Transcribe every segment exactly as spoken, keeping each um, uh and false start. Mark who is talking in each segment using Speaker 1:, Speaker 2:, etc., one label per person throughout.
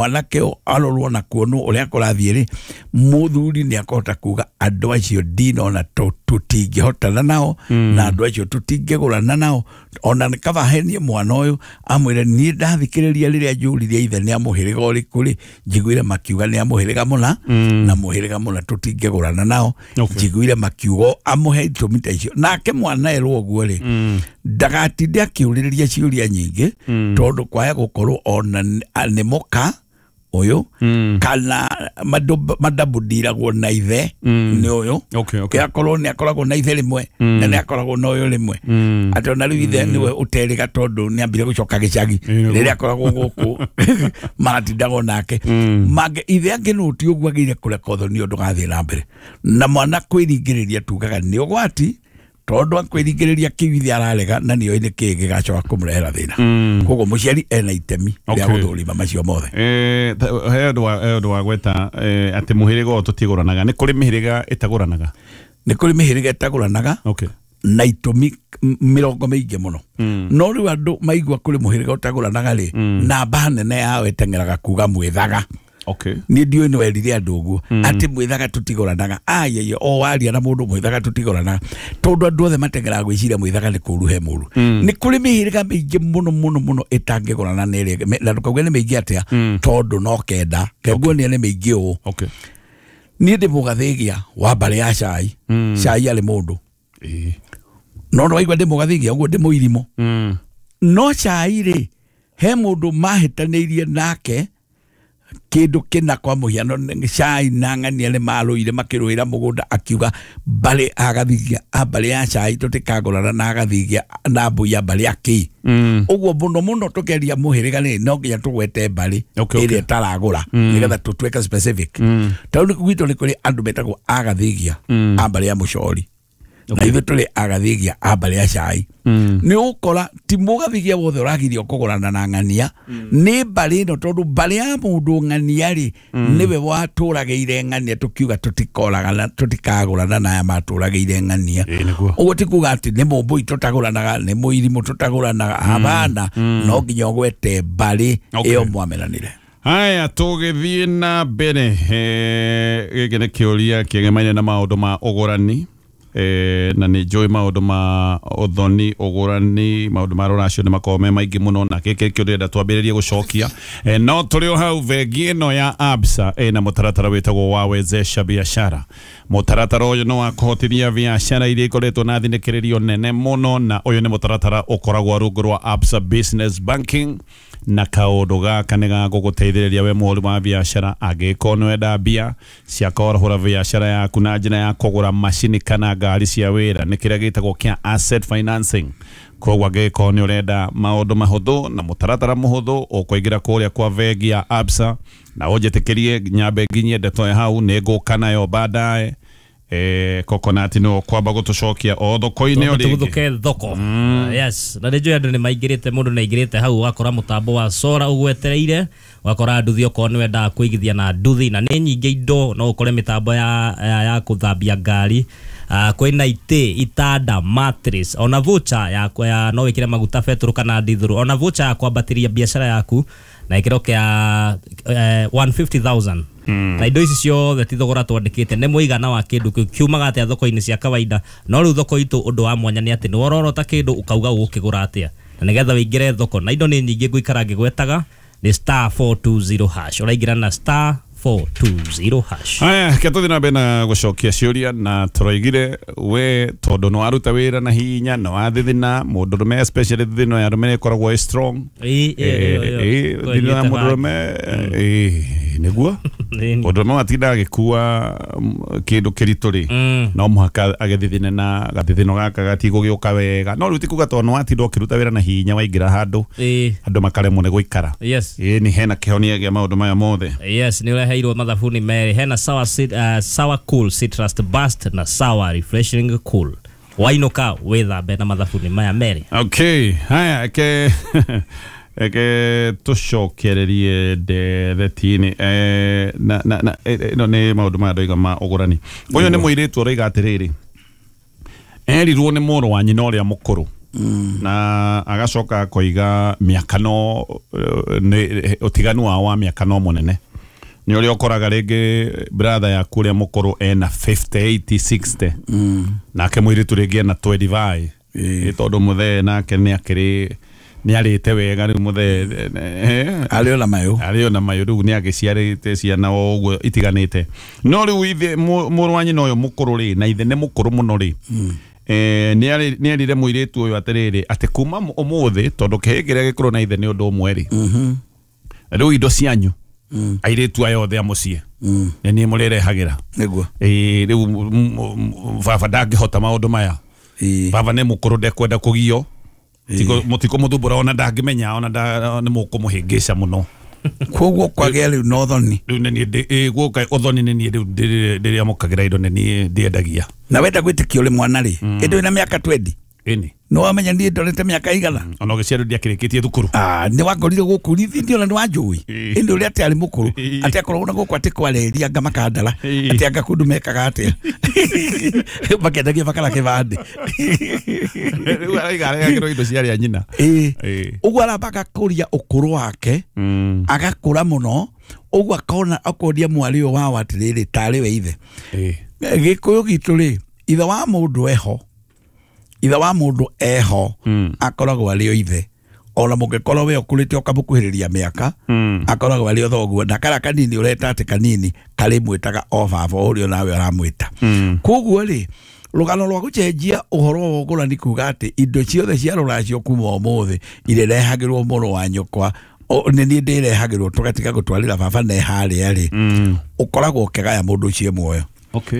Speaker 1: Mwanake ũyũ arorwo na kuonwo ũrĩa kũrathiĩ rĩ, mũthuri nĩ akũhota kuga andũ acio ndinona tũtingĩhotana nao na andũ acio tũtingĩgũrana nao. Ona nĩ kaba henie mwana ũyũ amwĩre niĩ ndathikĩrĩria rĩrĩa njũririe ithe nĩ a mũhĩrĩga ũrĩkũ rĩ, njiguire makiuga nĩ a mũhĩrĩga mũna na mũhĩrĩga mũna tũtingĩgũrana nao.
Speaker 2: Okay.
Speaker 1: Njiguire makiuga amũhe itũmi ta icio, nake mwana erwo ũguo rĩ, ndagatinde akĩũrĩrĩria ciũria nyingĩ, tondũ kwaya gũkorwo ona nĩ mũka ũyũ kana madabundiragwo na ithe nĩ ũyũ.
Speaker 2: Okay, okay.
Speaker 1: Akorwo nĩ akoragwo na ithe rĩmwe na nĩ akoragwo na ũyũ rĩmwe, atĩ ona rĩu ithe nĩwe ũterĩga tondũ nĩ ambire gũcoka gĩcagi
Speaker 2: Ĩĩ, nĩguo.
Speaker 1: rĩrĩa akoragwo gũkũ maratindagwo nake mangĩ ithe angĩ nũ ti ũguo agĩrĩire kũreka ũthoni ũyũ ndũgathiĩ na mbere. Na mwana kwĩringĩrĩria tugaga nĩ ũgwati, tondũ akwĩringĩrĩria kĩu ithe ararega na nĩoĩ nĩ kĩĩ gĩgacoka kũmũrehera thĩna. Koguo mũciari ena itemi rĩa
Speaker 2: Okay.
Speaker 1: gũthũrima macio mothe.
Speaker 2: Eh, ta- he ũndũ wa- he ũndũ wa gweta eh, atĩ mũhĩrĩga ũyũ tũtigũranaga. Nĩ kũrĩ mĩhĩrĩga ĩtagũranaga?
Speaker 1: Nĩ kũrĩ mĩhĩrĩga ĩtagũranaga
Speaker 2: okay
Speaker 1: na itũmi m- mĩrongo mĩingĩ mũno. No rĩu andũ maigua kũrĩ mũhĩrĩga ũtagũranaga rĩ, namba nene yao ĩteng'eraga kuga mwĩthaga.
Speaker 2: Okay
Speaker 1: niĩ ndiũĩ nĩ werire andũ ũguo atĩ mwĩthaga tũtigũranaga. Ayeye, o waria na mũndũ mwĩthaga tũtigũranaga, tondũ andũ othe mateng'eraga gwĩciria mwĩthaga nĩ kũru he mũru. Nĩ kũrĩ mĩhĩrĩga mĩingĩ mũno mũno mũno ĩtangĩgũrana na ĩrĩa ĩngĩ. Na ndũkauge nĩ mĩingĩ atĩa, tondũ no kenda kenguonia nĩ mĩingĩ ũũ.
Speaker 2: Okay
Speaker 1: niĩ ndĩ mũgathĩgia wa mbarĩ ya cai. Cai arĩ mũndũ
Speaker 2: Ĩĩ.
Speaker 1: no nĩ waigua ndĩ mũgathĩgia ũguo ndĩ mũirimũ.
Speaker 2: Mm.
Speaker 1: No cai rĩ, he mũndũ mahĩtanĩirie nake kĩndũ kĩna. Kwa mũhiano, nĩ- cai na ng'ania nĩ marũire makĩrũĩra mũgũnda, akiuga mbarĩ agathigia a mbarĩ ya cai tũtikagũrana na agathigia na mbui ya mbarĩ ya kĩi.
Speaker 2: Mm.
Speaker 1: Ũguo mũno mũno tũkĩaria mũhĩrĩga rĩ, no nginya tũgwete mbarĩ
Speaker 2: Okay, okay.
Speaker 1: ĩrĩa ĩtaragũra nĩgetha tũtuĩke specific. Tondũ gwitũ nĩ kũrĩ andũ metagwo agathigia a mbarĩ ya mũcori na ithuĩ tũrĩ agathigia a mbarĩ ya cai. Nĩ ũgũkora ti mũgathigia wothe ũragirio kũgũrana na ng'ania, nĩ mbarĩ ĩno, tondũ mbarĩ ya mũndũ ng'ania rĩ nĩwe watũragĩire ng'ania, tũkiuga tũtikoragana tũtikagũrana na aya matũragĩire ng'ania.
Speaker 2: Ĩĩ, nĩguo.
Speaker 1: Ũguo ti kuga atĩ nĩ mũmbũi tũtagũranaga, nĩ mũirimũ tũtagũranaga, habana, no nginya ũgwete mbarĩ
Speaker 2: Okay.
Speaker 1: ĩyo mwamenanire.
Speaker 2: Haya, tũgĩthiĩ na mbere, eh, gĩkĩ nĩ kĩũria kĩgemaine na maũndũ ma ũgũrani, eh, na nĩ njũĩ maũndũ ma ũthoni, ũgũrani, maũndũ ma rũracio nĩ makoragwo me maingĩ mũno, na gĩkĩ nĩkĩo ndĩrenda twambĩrĩrie gũcokia. eh, no tũrĩ o hau, bengi ĩno ya Absa ĩna mũtaratara wĩtagwo wa Wezesha Biashara. Mũtaratara ũyũ nĩ wa kũhotithia biashara iria ikoretwo na thinĩkĩrĩrio nene mũno, na ũyũ nĩ mũtaratara ũkoragwo rungu rwa Absa Business Banking, na kaũndũ gaka nĩ gagũgũteithĩrĩria we mũhũri wa biashara angĩkorwo nĩ wenda mbia cia kwarahũra biashara yaku na njĩra ya kũgũra macini kana ngari cia wĩra, nĩ kĩrĩa gĩtagwo kĩa asset financing. Koguo angĩkorwo nĩ ũrenda maũndũ mahũthũ na mũtaratara mũhũthũ, ũkũingĩra kũrĩa kwa bengi ya Absa, na ũnjĩtĩkĩrie nyambe nginyie ndeto ya hau, nĩ ngũka nayo baadaye. Eh, Coconut no kwamba gũtũcokia o thoko-inĩ o rĩngĩ.
Speaker 3: Tũgũthũke thoko. Yes, na nĩ njũĩ andũ nĩ maingĩrĩte, mũndũ nĩ aingĩrĩte hau ũgakora mũtambo wa sora ũgwetereire, ũgakora nduthi okorwo nĩ wendaga kũigithia na nduthi, na nĩ nyingĩ indo no ũkore mĩtambo ya, ya, ya kũthambia ngari, uh, kwĩna itĩ, itanda, mattress, ona voucher ya, ya no wĩkĩre maguta betũrũ kana ndithũrũ, ona voucher ya kwambatĩria biacara yaku na gĩkĩro kĩa eh, one hundred fifty thousand. Na indo ici ciothe ti thogora twandĩkĩte, nĩ mũigana wa kĩndũ kĩu kiumaga atĩa thoko-inĩ cia kawaida. No rĩu thoko itũ ũndũ wa mwanya nĩ atĩ nĩ wororota kĩndũ ũkauga ũgũkĩgũra atĩa, na nĩgetha wĩingĩre thoko na indo nĩ nyingĩ ngũikara ngĩgwetaga nĩ star four two zero hash, ũraingĩra na star four two zero hash.
Speaker 2: Haya, ke tũthiĩ na mbere na gũcokia ciũria, na tũroigire we tondũ nĩ waruta wĩra na hinya na wathithina mũndũrũme, especially thithino ya arũme nĩ ĩkoragwo ĩ strong.
Speaker 3: Ĩ, ĩ, ĩ, ĩ,
Speaker 2: Eh,
Speaker 3: ĩ,
Speaker 2: thithino ya
Speaker 3: kũnyita
Speaker 2: mũndũrũme, ĩ, nĩguo
Speaker 3: Nĩ-
Speaker 2: mũndũrũme watinda agĩkua mm, kĩndũ kĩritũ rĩ,
Speaker 3: Mm.
Speaker 2: no mũhaka agĩthithine na gathithino gaka gatigũgĩũka wega. No rĩu ti kuga tondũ nĩ watinda ũkĩruta wĩra na hinya waingĩra handũ
Speaker 3: Ĩ,
Speaker 2: andũ makaremwo nĩ gũikara.
Speaker 3: Yes.
Speaker 2: Ĩ, nĩ hena kĩhonia gĩa maũndũ maya mothe.
Speaker 3: Yes, nĩ ũreheirwo mathabuni merĩ, hena sour, cit, uh, sour Cool Citrus Burst na Sour Refreshing Cool. Wainũka wĩthambe na mathabuni maya merĩ.
Speaker 2: Okay, haya, eke eke tũcokererie ndereti-inĩ. eh, na na na eh, ĩno nĩ maũndũ maya ndoiga ma ũgũrani. Ũyũ nĩ mũirĩtu ũroiga atĩrĩrĩ, erirwo nĩ mũrũ wa nyina ũrĩa mũkũrũ Na agacoka akoiga mĩaka no nĩ ũtiganu wao wa mĩaka no mũnene. Nĩ ũrĩa ũkoraga rĩngĩ brother yaku ũrĩa mũkũrũ ena fifty eighty sixty. Nake mũirĩtu rĩngĩ ena twenty-five. Ĩ tondũ mũthee nake nĩ akĩrĩ nĩ arĩte wega rĩu mũthee
Speaker 1: arĩ ona mayũ
Speaker 2: arĩ ona mayũ rĩu nĩ agĩciarĩte ciana o ũguo itiganĩte. No rĩu ithe mũrũ wa nyina ũyũ mũkũrũ rĩ na ithe nĩ mũkũrũ mũno rĩ eh nĩ nĩ erire mũirĩtu ũyũ atĩrĩrĩ atĩ kuma ũmũthĩ tondũ kĩhĩ kĩrĩa gĩkũrũ na ithe nĩ ũndũ ũmwe rĩ rĩu indo cianyu airĩtu aya othe a mũciĩ nĩ niĩ mũrĩrehagĩra
Speaker 1: nĩguo.
Speaker 2: Ĩĩ rĩu baba ndangĩhota maũndũ maya. Baba nĩ mũkũrũ ndekwenda kũgio mũtikũ mũthumbũra ona ndangĩmenya ona nĩ mũkũmũhĩngĩca mũno.
Speaker 1: Koguo kwagĩa rĩu na ũthoni
Speaker 2: rĩu nĩ niĩ guoka ũthoni nĩ niĩ rĩu ndĩrĩamũkagĩra indo nĩ niĩ ndĩendagia.
Speaker 1: Na wenda gwĩtĩkio ũrĩ mwana rĩ ĩndĩ wĩna mĩaka twenty
Speaker 2: ĩni
Speaker 1: nĩ wamenya niĩ ndorete mĩaka igana
Speaker 2: ona ũgĩciarwo ndiakĩrĩkĩtie thukuru.
Speaker 1: Ah nĩ wakorire gũkũ rithindi ona nĩ wanjũĩ ĩndĩ ũrĩa atĩ arĩ mũkũrũ atĩ akoragwo na gũkũ atĩ kwarĩria anga makandara atĩ anga kũndũ mekaga atĩa makendagia makara kĩbandĩ
Speaker 2: rĩu araiga arehagĩrwo indo cia arĩa nyina.
Speaker 1: Ĩĩ ũguo aramba agakũria ũkũrũ wake agakũra mũno ũguo akona akoria mwarĩ ũyũ wao atĩrĩrĩ tarĩ we ithe. Gĩkũyũ gitũ rĩ ithe wa mũndũ eho ithe wa mũndũ eho akoragwo arĩ o ithe ona mũngĩkorwo we ũkũrĩte ũkamũkuhĩrĩria mĩaka akoragwo arĩ o thoguo na kara kanini ũreta atĩ kanini karĩ mwĩtaga o baba ũrĩa nawe ũramwĩta. Koguo rĩ rũgano rwa gũcenjia ũhoro wa ũgũrani kuga atĩ indo ciothe cia rũracio kuma ũmũthĩ irĩrehagĩrwo mũrũ wa nyũkwa nĩ niĩ ndĩrehagĩrwo tũgatiga gũtwarĩra baba ne harĩa rĩ ũkoragwo ũkĩgaya mũndũ ũcio muoyo.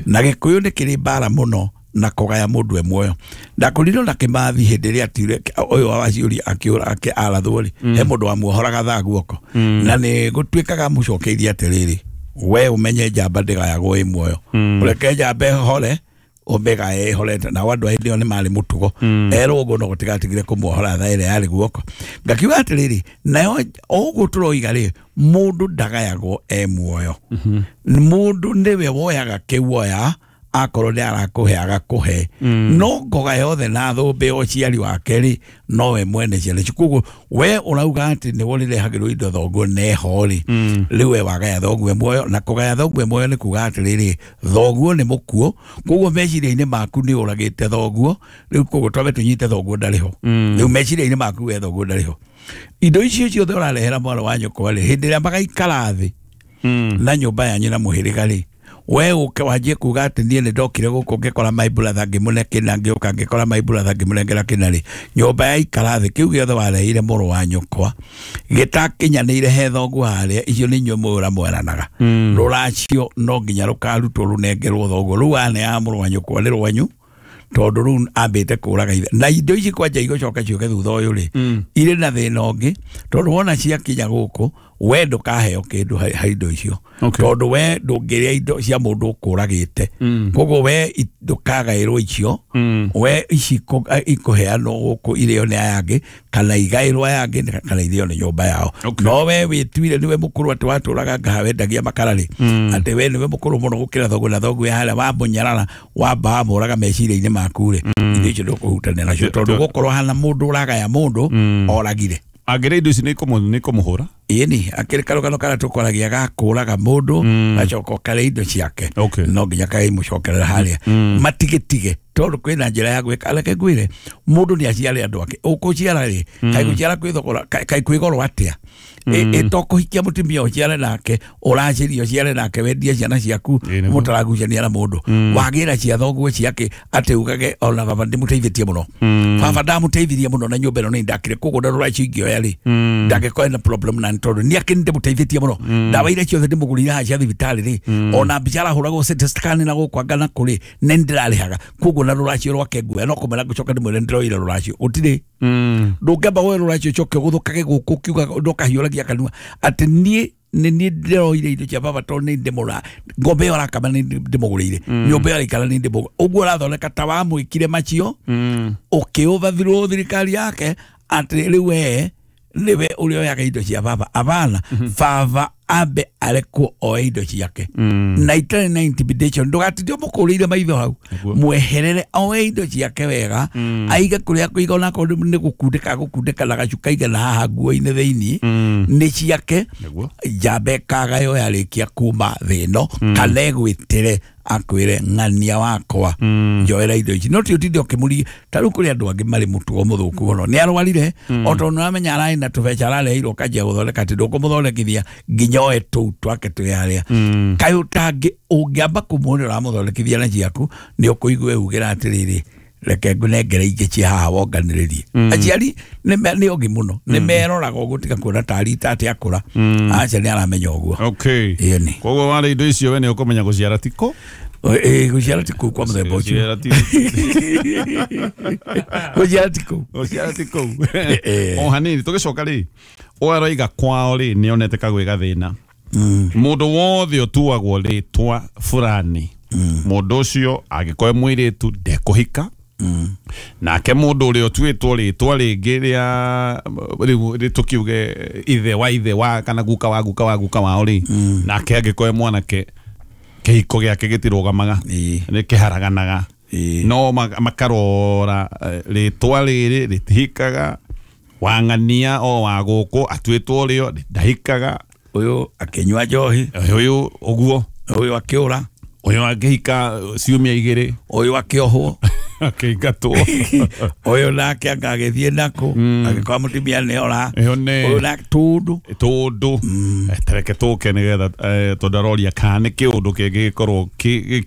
Speaker 1: Na Gĩkũyũ nĩ kĩrĩ mbara mũno na kũgaya mũndũ e muoyo. Ndakorirwo na Kĩmathi hĩndĩ ĩrĩa atire ũyũ wa Waciũri akĩũra ake arathwo rĩ he mũndũ wamuohoraga thaa guoko na nĩ gũtuĩkaga mũcokeirie atĩrĩrĩ we ũmenye njamba ndĩgayagwo ĩ muoyo ũreke njamba ĩhore ũmĩgaye ĩhorete. Nao andũ a hĩndĩ ĩyo nĩ marĩ mũtugo erwo ũguo no gũtigatigire kũmuohora thaa ĩrĩa yarĩ guoko. Ngakiuga atĩrĩrĩ nayo o ũguo tũroiga rĩ mũndũ ndagayagwo e muoyo. Mũndũ nĩwe woyaga kĩu oya akorwo nĩ arakũhe agakũhe no ngoga yothe na thũmbĩ ũciari wake rĩ nowe mwene ciana icio. Koguo we ũrauga atĩ nĩwe ũrĩrehagĩrwo indo thoguo neho rĩ rĩu we wagaya thoguo muoyo na kũgaya thoguo muoyo nĩ kuga atĩrĩrĩ thoguo nĩ mũkuũ koguo meciria-inĩ maku nĩ ũragĩte thoguo rĩu koguo twambe tũnyite thoguo ndarĩ ho rĩu meciria-inĩ maku we thoguo ndarĩ ho. Indo icio ciothe ũrarehera mwana wa nyũkwa rĩ hĩndĩ ĩrĩa magaikara thĩ na nyũmba yanyu na mũhĩrĩga rĩ we ũke wanjie kuga atĩ niĩ nĩ ndokire gũkũ ngĩkora my brother ngĩmũne kĩna ngĩũka ngĩkora my brother ngĩmũnengera kĩna rĩ nyũmba yaikara thĩ kĩu gĩothe wareheire mũrũ wa nyũkwa gĩtakinyanĩire he thoguo harĩa icio nĩ inyuĩ mũra mweranaga rũracio no nginya rũkarutwo rũnengerwo thoguo rũu aneaga mũrũ wa nyũkwa nĩ rwanyu tondũ rĩu ambĩte kũraga ithe na indo ici kwanja igũcoka ciũke thutha ũyũ rĩ irĩ na thĩna ũngĩ tondũ wona ciakinya gũkũ we ndũkaheo kĩndũ ha indo icio tondũ we ndũngĩrĩa indo cia mũndũ ũkũragĩte koguo we ndũkagaĩrwo icio we ici ikũheanwo gũkũ irĩo nĩ aya angĩ kana igaĩrwo aya angĩ kana irĩo nĩ nyũmba yao. No we wĩtuire nĩwe mũkũrũ atĩ watũraga ngaha wendagia makara rĩ atĩ we nĩwe mũkũrũ mũno gũkĩra thoguo na thoguo harĩa wamũnyarara wamba wamũraga meciria-inĩ maku rĩ indo icio ndũkũhutania nacio tondũ gũkorwo hana mũndũ ũragaya mũndũ oragire.
Speaker 2: Angĩrĩa indo ici nĩ ikũmũhũra
Speaker 1: ĩni akĩrĩ karũgano karĩa tũkoragia gakũraga mũndũ gacoka ũkarĩa indo ciake no nginya kaimũcokerera harĩa matigĩtige tondũ kwĩna njĩra ya gwĩka. Reke ngwĩre mũndũ nĩ aciare andũ ake ũkũciara rĩ kaĩ gũciara kwĩ thogora kaĩ kwĩ goro atĩa ĩtokũhikia mũtumia ũciare nake ũracĩria ũciare nake wendie ciana ciaku mũtaragucania na mũndũ wagĩra cia thoguo ciake atĩ ugage ona baba ndĩmũteithĩtie mũno baba ndamũteithirie mũno na nyũmba ĩno nĩ ndakire koguo ndarora icio ingĩoya rĩ ndangĩkorwo ena problem na tondũ nĩ akĩ ndĩmũteithĩtie mũno ndawa iria ciothe ndĩmũgũrĩire haha cia thibitarĩ rĩ ona mbica arahũragwo C T scan na gũkũ anga na kũrĩ nĩ ndĩrarĩhaga koguo na rũracio rwake nguoya no kũmwĩra ngũcoka ndĩmwĩre ndĩroire rũracio gũtirĩ ndũngĩamba woe rũracio ũcoke ũgũthũkage gũkũ ũkiuga ndũkahiũragia kanua atĩ niĩ nĩ niĩ ndĩroire indo cia baba tondũ nĩ ndĩmũra ng'ombe ĩyo arakama nĩ ndĩmũgũrĩire nyũmba ĩyo araikara nĩ ndĩmũgũrĩire ũguo ũrathondeka ta wamwĩkire macio ũkĩ-overthrow thirikari yake atĩ rĩu we nĩwe ũrĩa oyaga indo cia baba abana baba Ambe arekwo oe indo ciake na itarĩ na intimidation ndũgatinde ũmũkũrĩire maitho hau mweherere oe indo ciake wega aige kũrĩa kũiga onakorwo nĩ gũkundĩka gũkundĩka na gacuka igana haha nguo-inĩ thĩinĩ nĩ ciake njamba ĩkagayo yarĩkia kuma thĩ ĩno kana ĩgwĩtĩre akwĩre ng'ania wakwa njoera indo ici no ti ũtinde ũkĩmũri ta rĩu kũrĩ andũ angĩ marĩ mũtugo mũthũku mũno nĩ arwarire o tondũ nĩũramenya ararĩ na tũbeca arareheirwo ũkanjia gũthondeka atĩ ndũkũmũthondekithia nginya oe tũu twake twĩ harĩa kaĩ ũtangĩ ũngĩamba kũmuona ũramũthondekithia na ciaku nĩ ũkũigua ugĩra atĩrĩrĩ reke ngũnengere ingĩ cia haha wonganĩrĩrie aciari nĩ ogi mũno nĩ meroraga ũguo tiga kuona tarĩ ta atĩ akũra aca nĩ aramenya ũguo
Speaker 2: okay
Speaker 1: ĩni
Speaker 2: koguo warĩ indo icio we nĩ ũkũmenya gũciara tiko
Speaker 1: ĩĩ gũciara ti kũu kwa mũthemba ũcio gũciara ti kũu
Speaker 2: gũciara ti kũu o hanini tũgĩcoka rĩ ũyũ aroiga kwao rĩ nĩ onete kagwĩ gathĩna mũndũ wothe ũtuagwo rĩtwa fulani mũndũ ũcio angĩkorwo mũirĩtu ndekũhika nake mũndũ ũrĩa ũtuĩtwo rĩtwa rĩngĩ rĩa rĩu tũkiuge ithe wa ithe wa kana guka wa guka wa guka wao rĩ nake angĩkorwo mwanake kĩhiko gĩake gĩtirũgamaga nĩ kĩharaganaga no makarora rĩtwa rĩrĩ rĩtihikaga wang'ania o wa gũkũ atuĩtwo rĩo ndahikaga
Speaker 1: ũyũ akĩnyua njohi
Speaker 2: ũyũ ũguo
Speaker 1: ũyũ akĩũra
Speaker 2: ũyũ angĩhika ciumia igĩrĩ
Speaker 1: ũyũ akĩohwo
Speaker 2: akĩingatwo
Speaker 1: ũyũ nake anga agĩthiĩ nakũ agĩkorwo mũtumia nĩ ora ũyũ nake tũndũ
Speaker 2: tũndũ tereke tũke nĩgetha tondũ aroria kana nĩ kĩũndũ kĩngĩgĩkorwo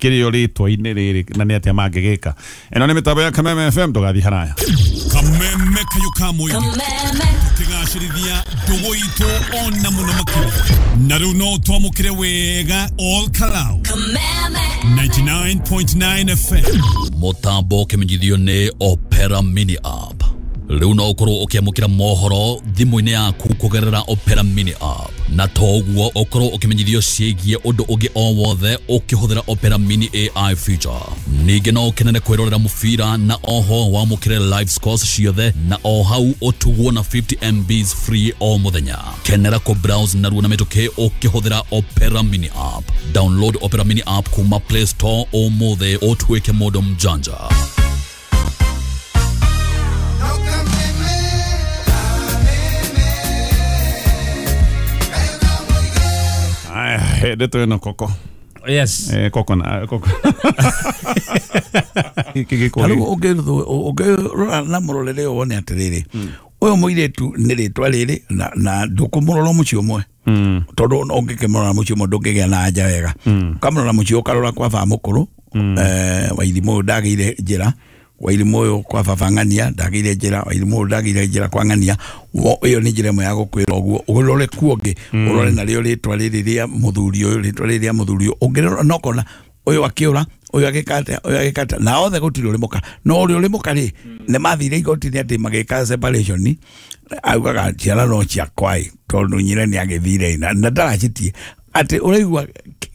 Speaker 2: kĩrĩo rĩtwa-inĩ rĩrĩ na nĩ atĩa mangĩgĩka ĩno nĩ mĩtambo ya Kameme F M ndũgathiĩ haraya
Speaker 4: Kameme kayo ka mũingĩ tũkĩgacĩrithia ndũgũ itũ ona mũno makĩria na rĩu no twamũkĩre wega all Kalau
Speaker 5: Kameme
Speaker 4: ninety-nine point nine F M
Speaker 6: Mũtambo ũkĩmenyithio nĩ Opera Mini App rĩu no ũkorwo ũkĩamũkĩra mohoro thimũ-inĩ yaku kũgerera Opera Mini App na to ũguo ũkorwo ũkĩmenyithio ciĩgiĩ ũndũ ũngĩ o wothe ũkĩhũthĩra Opera Mini A I feature ningĩ no ũkenere kwĩrorera mũbira na oho wamũkĩre live scores ciothe na o hau ũtugwo na fifty M Bs free o mũthenya kenera kũ browse narua na mĩtũkĩ ũkĩhũthĩra Opera Mini App download Opera Mini App kuma Play Store ũmũthĩ ũtuĩke mũndũ mjanja.
Speaker 2: Ndeto ĩno koko
Speaker 3: yes
Speaker 2: eh koko na koko
Speaker 1: rĩu ũngĩrora na mũrorere ũyũ wone atĩrĩrĩ ũyũ mũirĩtu nĩ rĩtwa rĩrĩ na na ndũkũmũrora mũciĩ ũmwe tondũ ũngĩkĩmũrora mũciĩ ũmwe ndũngĩgĩa na anja wega ũkamũrora mũciĩ ũkarora kwa baba mũkũrũ eh Wairimũ ũyũ ndagĩire njĩra Wairimũ ũyũ kwa baba ng'ania ndagĩire njĩra Wairimũ ũyũ ndagĩire njĩra kwa ng'ania ĩyo nĩ njĩra ĩmwe ya gũkwĩra ũguo ũrore kuo ũngĩ ũrore narĩo rĩtwa rĩrĩ rĩa mũthuri ũyũ rĩtwa rĩrĩ rĩa mũthuri ũyũ ũngĩrora no kona ũyũ akĩũra ũyũ agĩka atĩa ũyũ agĩka atĩa na othe gũtirĩ ũrĩ mũka no ũrĩa ũrĩ mũka rĩ nĩ mathire igoti-inĩ atĩ magĩka separation augaga ciana no ciakwa ĩ tondũ nyina nĩ agĩthire na ndaracitie atĩ ũraigua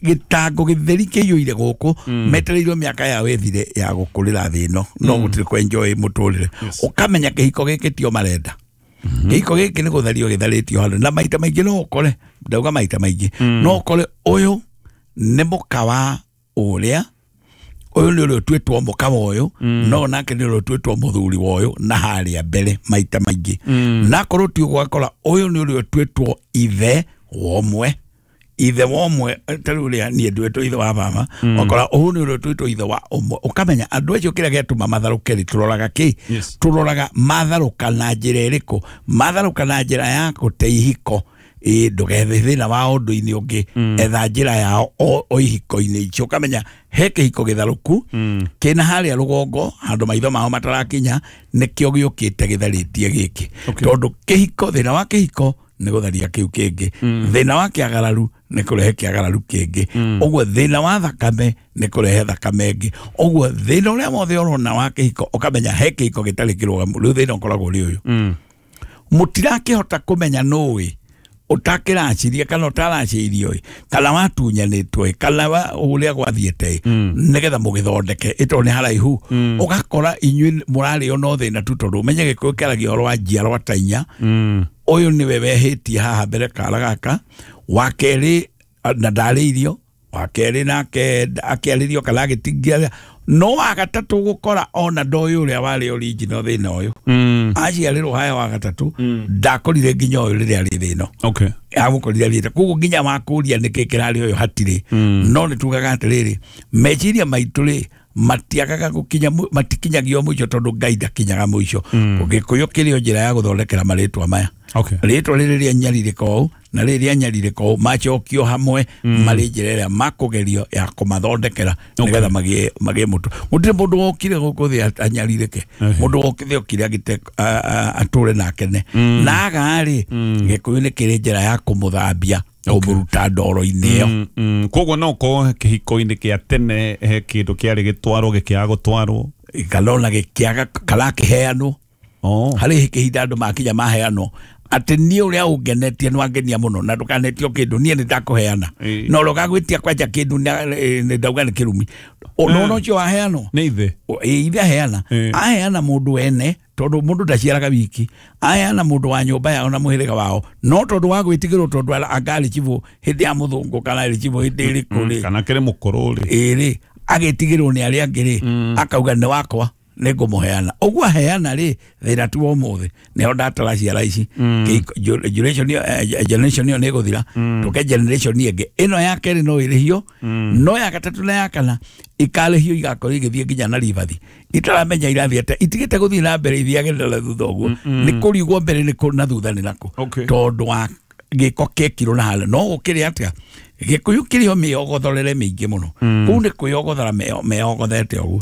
Speaker 1: gĩtango gĩtheri kĩiyũire gũkũ metereirwo mĩaka yao ĩthire ya gũkũrĩra thĩ ĩno no gũtirĩ kwenjoy mũtũrĩre ũkamenya kĩhiko gĩkĩ tio marenda kĩhiko gĩkĩ nĩ gũthario gĩtharĩtio handũ na maita maingĩ no ũkore ndauga maita maingĩ no ũkore ũyũ nĩ mũka wa ũrĩa ũyũ nĩ ũrĩa ũtuĩtwo mũka wa ũyũ no nake nĩ ũrĩa ũtuĩtwo mũthuri wa ũyũ na harĩa mbere maita maingĩ na akorwo ti ũguo ũgakora ũyũ nĩ ũrĩa ũtuĩtwo ithe wa ũmwe ithe wa ũmwe ta rĩu ũrĩa niĩ nduĩtwo ithe wa baba ũkora ũyũ nĩ ũrĩa ũtuĩtwo ithe wa ũmwe ũkamenya andũ acio kĩrĩa gĩatũma matharũke rĩ tũroraga kĩ tũroraga matharũka na njĩra ĩrĩkũ matharũka na njĩra ya gũte ihiko ĩ ndũgethe thĩna wa ũndũ-inĩ ũngĩ etha njĩra yao o ihiko-inĩ icio ũkamenya he kĩhiko gĩtharũku kĩna harĩa rũgongo handũ maitho mao matarakinya nĩkĩo gĩũkĩte gĩtharĩtie gĩkĩ tondũ kĩhiko thĩna wa kĩhiko nĩ gũtharia kĩu kĩngĩ thĩna wa kĩagararu nĩ kũrehe kĩagararu kĩngĩ ũguo thĩna wa thakame nĩ kũrehe thakame ĩngĩ ũguo thĩna ũrĩa wothe ũrona wa kĩhiko ũkamenya he kĩhiko gĩtarĩ kĩrũgamu rĩu thĩna ũkoragwo ũrĩ ũyũ mũtirakĩhota kũmenya nũĩ Utakĩracirie kana ũtaracirio ĩ kana watunyanĩtwo ĩ kana ũrĩa gwathiĩte ĩ nĩgetha mũgĩthondeke ĩtondũ nĩ haraihu ũgakora inyuĩ mũrarĩo no thĩna tu tondũ ũmenye Gĩkũyũ kĩaragia ũhoro wa njiarwa ta inya ũyũ nĩwe wehĩtie haha mbere kara gaka wa kerĩ na ndarĩirio wa kerĩ nake akĩarĩrio kana agĩtingia no wa gatatũ gũkora ona ndoĩ ũrĩa warĩ original thĩna ũyũ aciarĩrwo haya wa gatatũ ndakorire nginya ũyũ rĩrĩa arĩ thĩna
Speaker 2: okay
Speaker 1: amũkorire arĩte koguo nginya wakũria nĩkĩ kĩrarĩ ũyũ hatirĩ no nĩ tugaga atĩrĩrĩ meciria maitũ rĩ matiagaga gũkinya matikinyagio mũico tondũ Ngai ndakinyaga mũico Gĩkũyũ kĩrĩ o njĩra ya gũthondekera marĩtwa maya
Speaker 2: okay
Speaker 1: rĩtwa rĩrĩ rĩa nyarirĩka ũũ na rĩrĩ rĩa nyarirĩka ũũ macokio hamwe marĩ njĩra ĩrĩa makũgerio ya kũmathondekera nĩgetha magĩe magĩe mũtũ gũtirĩ mũndũ wokire gũkũ thĩ anyarirĩke mũndũ wokire okire agĩte atũre na akene na aga-rĩ Gĩkũyũ nĩ kĩrĩ njĩra ya kũmũthambia kũmũruta ndoro-inĩ ĩyo
Speaker 2: koguo no ũkorwo kĩhiko-inĩ kĩa tene he kĩndũ kĩarĩ gĩtwarwo gĩkĩaga gũtwarwo
Speaker 1: kana ona gĩkĩaga kana kĩheanwo harĩ kĩhinda andũ makinya maheanwo atĩ niĩ ũrĩa ũngenetie nĩwangenia mũno na ndũkanetio kĩndũ niĩ nĩndakũheana na ũrĩa ũgagwĩtia kwanja kĩndũ nĩ ndauga nĩ kĩrumi ũndũ ũcio waheanwo
Speaker 2: nĩ ithe
Speaker 1: ithe aheana aheana mũndũ ene tondũ mũndũ ndaciaraga wiki aheana mũndũ wa nyũmba yao na mũhĩrĩga wao no tondũ wa gwĩtigĩrwo tondũ anga arĩ chibũ hĩndĩ ya mũthũngũ kana arĩ chibũ hĩndĩ ĩrĩkũ rĩ
Speaker 2: kana kĩrĩ mũkũrũ rĩ
Speaker 1: ĩrĩ agĩtigĩrwo nĩ arĩa angĩ rĩ akauga nĩ wakwa nĩngũmũheana ũguo aheana rĩ thĩna tu wa ũmũthĩ nĩho ndatara ciara ici generation generation ĩyo nĩĩgũthira tũke generation ĩngĩ ĩno ya kerĩ no ĩrĩhio no ya gatatũ na ya kana ikarĩhio igakorwo igĩthiĩ nginya na ribathi itaramenya irathiĩ atĩa itigĩte gũthiĩ na mbere ithiage na thutha ũguo nĩ kũrigwo mbere nĩ kũ na thutha nĩ nakũ tondũ wa gĩko kĩekirwo na harĩa no gũkĩrĩ atĩa Gĩkũyũ kĩrĩ o mĩogothorere mĩingĩ mũno kũu nĩ kwĩyogothora meyogothete ũguo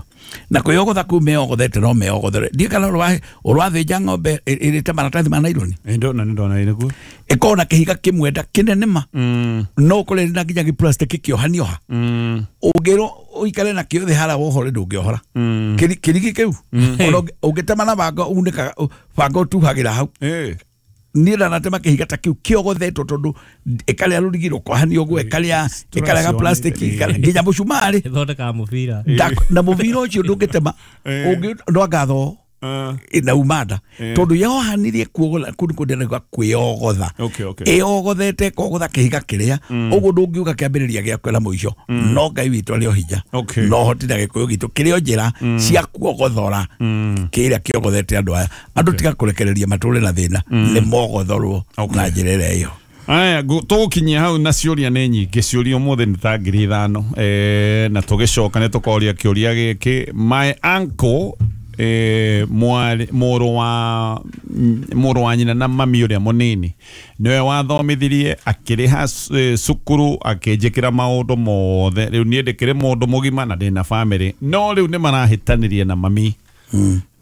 Speaker 1: na kwĩyogotha kũu meyogothete no meyogothore ndiĩ kana ũrathĩnja ng'ombe ĩrĩte maratathi ma naironi
Speaker 2: ndona ndona nĩguo
Speaker 1: ĩkorwo na kĩhiga kĩmwe nda kĩnene ma no ũkore na nginya gĩplastic kĩohanio ha ũngĩrwo ũikare nakĩo thĩ harĩa wohore ndũngĩohora kĩrigi kĩu ona ũngĩtema na banga unĩkaga banga ũtuhagĩra hau niĩ ndanatema kĩhiga ta kĩu kĩogothetwo tondũ ĩkarĩa rũrigi rũkohanio ũguo ĩkarĩa ĩkarĩa ga plastic nginya mũcumarĩ
Speaker 3: ĩthondekaga mũbira
Speaker 1: na mũbira ũcio ndũngĩtema no anga thoo na uma nda tondũ yohanirie kuogotha kũu nĩkuo ndĩrauga kwĩyogotha ĩyogothete ĩkogotha kĩhiga kĩrĩa ũguo ndũngiuga kĩambĩrĩria gĩakwa na mũico no Ngai witũ arĩ o hinya no hoti na Gĩkũyũ gitũ kĩrĩ o njĩra cia kuogothora kĩrĩa kĩogothete andũ aya andũ tiga kũrekereria matũre na thĩna nĩ mogothorwo na njĩra ĩrĩa ĩyo
Speaker 2: aya tũgũkinyia hau na ciũria nĩ nyingĩ ciũria ũmũthĩ nĩ ta ngiri ithano na tũgĩcoka nĩ tũkoria kĩũria gĩkĩ my uncle eh mũrũ wa mũrũ wa nyina na mami ũrĩa mũnini nĩwe wathomithirie akĩrĩha cukuru akĩnjĩkĩra maũndũ mothe rĩu niĩ ndĩkĩrĩ mũndũ mũgima na ndĩna bamĩrĩ no rĩu nĩ marahĩtanĩrie na mami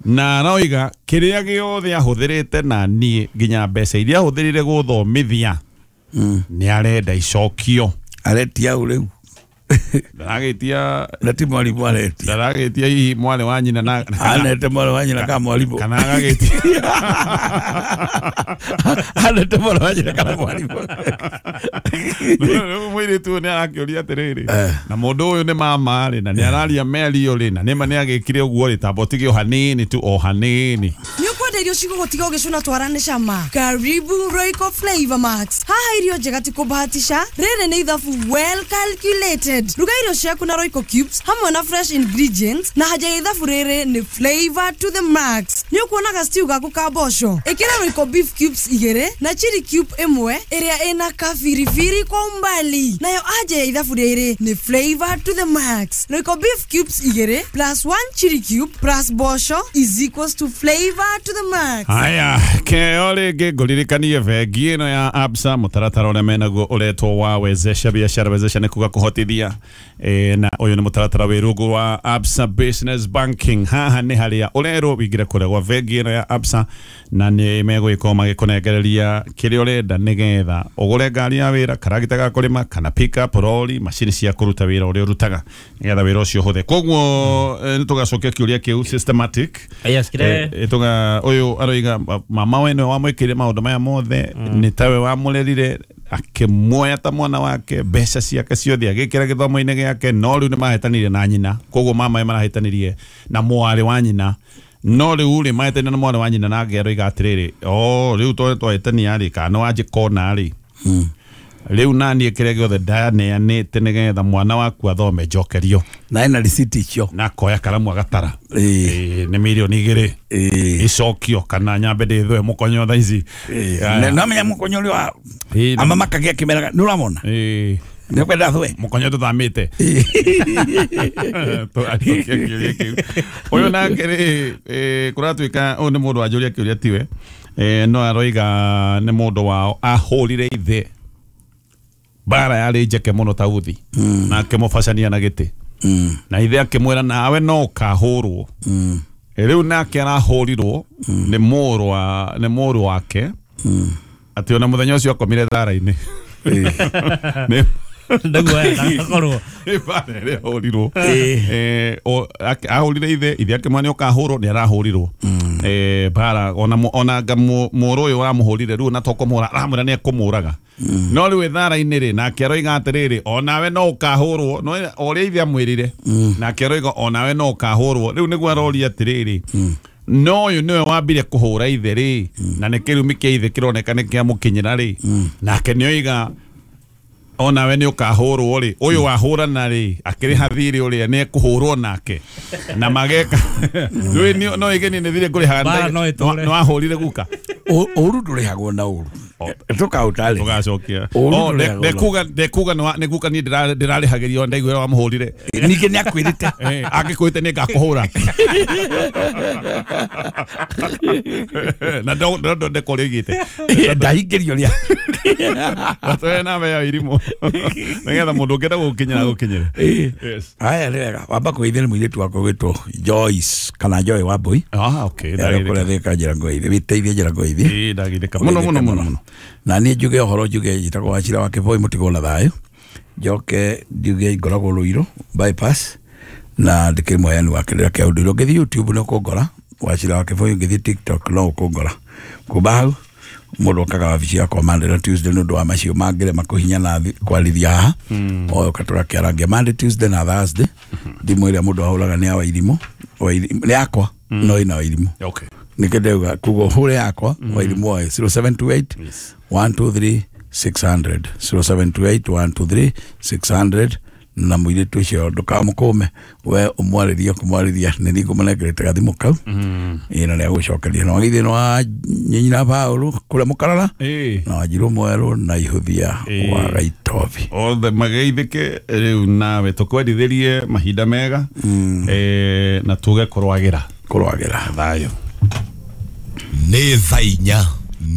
Speaker 2: na aroiga kĩrĩa gĩothe ahũthĩrĩte na niĩ nginya mbeca iria ahũthĩrire gũthomithia nĩ arenda icokio
Speaker 1: aretia ũ rĩu
Speaker 2: ndaragĩtia
Speaker 1: na ti mwarimũ aretia
Speaker 2: ndaragĩtia hihi mwarĩ wa nyina na
Speaker 1: anete mwarĩ wa nyina kana mwarimũ
Speaker 2: kana agagĩtia
Speaker 1: anete mwarĩ wa nyina kana mwarimũ
Speaker 2: rĩu mũirĩtu ũyũ nĩ arakĩũria atĩrĩrĩ na mũndũ ũyũ nĩ mama rĩ na nĩ araria mĩario rĩ na nĩma nĩ agĩkire ũguo rĩ tamba ũtige o hanini tu o hanini
Speaker 5: nĩ ũkwenda irio cigũgũtiga ũgĩcũna twara nĩ cama karibu Royco Flavor Max haha irio njega ti kũbahatisha rĩrĩ nĩ ithabu well calculated ruga irio ciaku na Royco cubes hamwe na fresh ingredients na haja ya ithabu rĩrĩ nĩ flavor to the max nĩ ũkuonaga stew gaku ka mboco ĩkĩra Royco beef cubes igĩrĩ na chili cube ĩmwe ĩrĩa ĩna kabiribiri kwa umbali nayo aja ya ithabu rĩrĩ nĩ flavor to the max Royco beef cubes igĩrĩ plus one chili cube plus mboco is equals to flavor to the max
Speaker 2: haya keo rĩngĩ ngũririkanie bengi ĩno ya Absa mũtaratara ũrĩa menaguo ũretwo wa wezesha biashara wezesha nĩ kuga kũhotithia e, na ũyũ nĩ mũtaratara wĩ rungu wa Absa Business Banking haha nĩ harĩa ũrerwo wĩingĩre kũrĩa gwa bengi ĩno ya Absa na nĩ megũgĩkorwo magĩkũnengereria kĩrĩa ũrenda nĩgetha ũgũre ngari ya wĩra karagita ga kũrĩma kana pick-up rori macini cia kũruta wĩra ũrĩa ũrutaga nĩgetha wĩra ũcio ũhũthe koguo nĩ tũgacokia kĩũria kĩu systematic
Speaker 3: yes, kire
Speaker 2: tũga ũyũ Ũyũ aroiga mama we nĩwe wamwĩkĩire maũndũ maya mothe, nĩ tawe wamũrerire, akĩmuoya ta mwana wake, mbeca ciake ciothe agĩkĩra gĩthomo-inĩ gĩake, no rĩu nĩ mahĩtanire na nyina, koguo mama we marahĩtanirie na mwarĩ wa nyina, no rĩu rĩ mahĩtanire na mwarĩ wa nyina, nake aroiga atĩrĩrĩ, o rĩu tondũ twahĩtania rĩ, kana nĩwanjĩkona rĩ, rĩu naniĩ kĩrĩa gĩothe ndaneanĩte nĩgetha mwana waku athome njokerio,
Speaker 1: na ena receipt icio,
Speaker 2: na akoya karamu agatara, nĩ mirioni igĩrĩ icokio kana nyambe ndĩthwe mũkonyo thaa ici,
Speaker 1: nĩamenya mũkonyo ũrĩa wa ama makagia kĩmeraga, nĩ ũramona nĩkwenda thwe
Speaker 2: mũkonyo tũthamĩte. Ũyũ nake rĩ, kũratuĩka ũyũ nĩ mũndũ wanjũria kĩũria tiwe, no aroiga nĩ mũndũ wao ahũrire ithe bara yarĩ njeke mũno ta uthi, na akĩmũbacania na gĩtĩ, na ithe akĩmwĩra nawe no ũkahũrwo. Rĩu nake arahũrirwo nĩ mũrũ wa nĩ mũrũ wake, atĩ ona mũthenya ũcio akomire thara-inĩ nĩ
Speaker 3: ndaguoya
Speaker 2: nĩ bara ĩrĩa ahũrirwo, ahũrire ithe, ithe akĩmwĩra nĩ ũkahũrwo, nĩ arahũrirwo bara ona ona anga mũrũ ũyũ wamũhũrire rĩu na to kũmũhũra aramwĩra nĩ ekũmũraga, no rĩu thara-inĩ rĩ nake aroiga atĩrĩrĩ, onawe no ũkahũrwo, no ũrĩa ithe amwĩrire, nake aroiga onawe no ũkahũrwo. Rĩu nĩguo aroria atĩrĩrĩ, no ũyũ nĩwe wambire kũhũra ithe rĩ, na nĩ kĩrumi kĩa ithe kĩroneka nĩ kĩamũkinyĩra rĩ, nake nĩoiga onawe nĩ ũkahũrwo rĩ, ũyũ wahũrana rĩ akĩrĩha thirĩ ũrĩa nĩ ekũhũrwo nake na mageka rĩu no ĩgeni nĩ thirĩ ngũrĩhaga, nĩ wahũrire guka.
Speaker 1: Ũru ndũrĩhagwo na ũru, tũkaũtarĩria
Speaker 2: tũgacokia ndekuga ndekuga nĩ guka niĩ ndĩrarĩhagĩrio ndaiguĩra wamũhũrire,
Speaker 1: ningĩ nĩ akwĩrĩte
Speaker 2: angĩkwĩte nĩ ngakũhũra na ndonde kũrĩa oigĩte
Speaker 1: ndahingĩrio rĩa
Speaker 2: atwere namba ya irimũ nĩgetha mũndũ ũngĩenda gũkinyĩra gũkinyĩre.
Speaker 1: Aya nĩ wega wamba kũgeithia nĩ mũirĩtu wakwa gwĩtwo Joyce kana Joy Wambui,
Speaker 2: ah okay,
Speaker 1: kũrĩa Thika njĩra ngũgeithie, wĩteithie njĩra ngũgeithie,
Speaker 2: ĩĩ ndagithĩka mũno mũno mũno mũno.
Speaker 1: Na niĩ njuge ũhoro njuge njĩtagwo Wachira wa Kĩboi mũtigwo na thayũ, njoke njuge ngoragwo Rũirũ bypass na ndĩkĩrĩ mũheani wa kĩrĩra kĩa ũndũire. Ũngĩthiĩ YouTube nĩ ũkũngora Wachira wa Kĩboi, ũngĩthiĩ TikTok no ũkũngora. Kuma hau mũndũ okaga wabici yakwa Monday na Tuesday nĩ ũndũ wa macio mangĩrema kũhinya na kwarithia haha, oka tũgakĩarangia Monday, Tuesday na Thursday. Thimũ ĩrĩa mũndũ ahũraga nĩ ya Wairimũ, nĩ yakwa no ĩna Wairimũ, nĩkĩo ndauga kuga ũhũre yakwa Wairimũ oe zero seven two eight one two three six hundred, zero seven two eight one two three six hundred. Na mũirĩtu ũcio ndũkamũkũme, we ũmwarĩrie kũmwarĩria nĩ niĩ ngũmũnengerete gathimũ kau, ĩĩ na nĩagũcokeria. Na wagithĩ nĩ wa nyina Paũlũ kũrĩa Mũkarara, na Wanjirũ Mwerũ na Ihũthia wa Gaitobi,
Speaker 2: othe mageithĩke. Rĩu nawe tũkwendithĩrie mahinda mega, na tuge kũrwagĩra
Speaker 1: kũrwagĩra
Speaker 2: thayũ.
Speaker 4: Nĩ thaa inya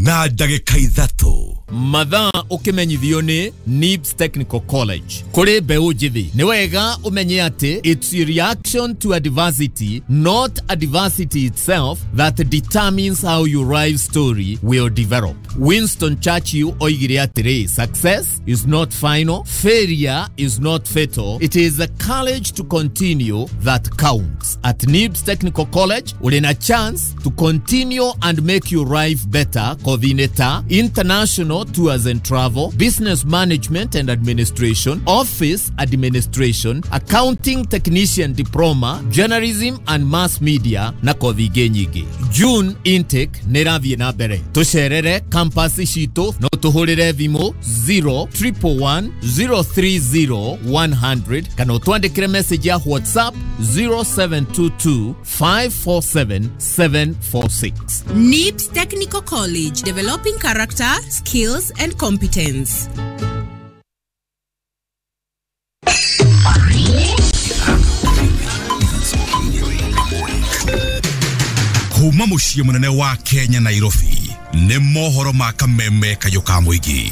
Speaker 4: na ndagĩka ithatũ.
Speaker 7: Mathaa ũkĩmenyithio nĩ Nibs Technical College. Kũrĩ mbeũ njĩthĩ nĩ wega ũmenye atĩ it's a reaction to adversity, not adversity itself, that determines how your life story will develop. Winston Churchill oigire atĩrĩ, success is not final, failure is not fatal, it is the courage to continue that counts. At Nibs Technical College ũrĩ na chance to continue and make your life better. Coordinator, international tours and travel, business management and administration, office administration, accounting technician diploma, journalism and mass media na kothi ingĩ nyingĩ. June intake nĩ ĩrathiĩ na mbere. Tũcerere campus citũ no tũhũrĩre thimũ zero triple one zero three zero one hundred kana ũtwandĩkĩre message ya WhatsApp zero seven two two five four seven seven four six.
Speaker 8: Nibs Technical College, developing character, skills and competence.
Speaker 4: Kuma muciĩ mũnene wa Kenya Nairobi nĩ mohoro ma kameme kayũ ka mũingĩ.